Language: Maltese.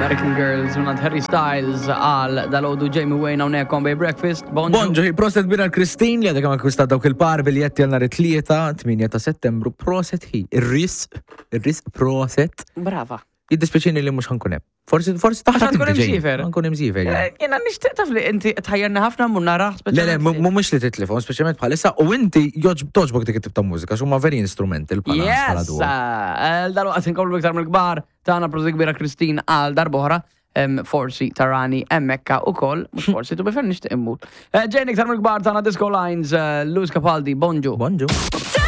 American Girls minn Harry Styles għal dalodu Jamie Wayne hawnhekk on Bay Breakfast. Bonġu. Bonġu, proset bira l-Kristin li għadha kemm akkwistat dawk il-par biljetti għal nhar it-tlieta, 8 ta' Settembru, proset hi. Ir-risq, ir-risq proset. Brava. Jiddispjaċini li mhux ħankun hemm. Forsi forsi taħt Għax tkun imsiefer. Nkun imsiefer. Eh, jiena nixtieq taf li inti tħajjarni ħafna mmur narah Le le, mhumiex li titlifhom, speċjalment bħalissa u inti toġbok dik it-tip ta' mużika x'huma very instrumental bħala Yes! Eh, dal-waqt inkomplu iktar mill-kbar tagħna prosit kbira Christine għal darb'oħra forsi tarani emmekka u koll, mux forsi, tu bifer nishtiq immur. Eh, ġejn iktar mill-kbar tagħna Disco Lines, Luz Capaldi, bonġu. Bonġu.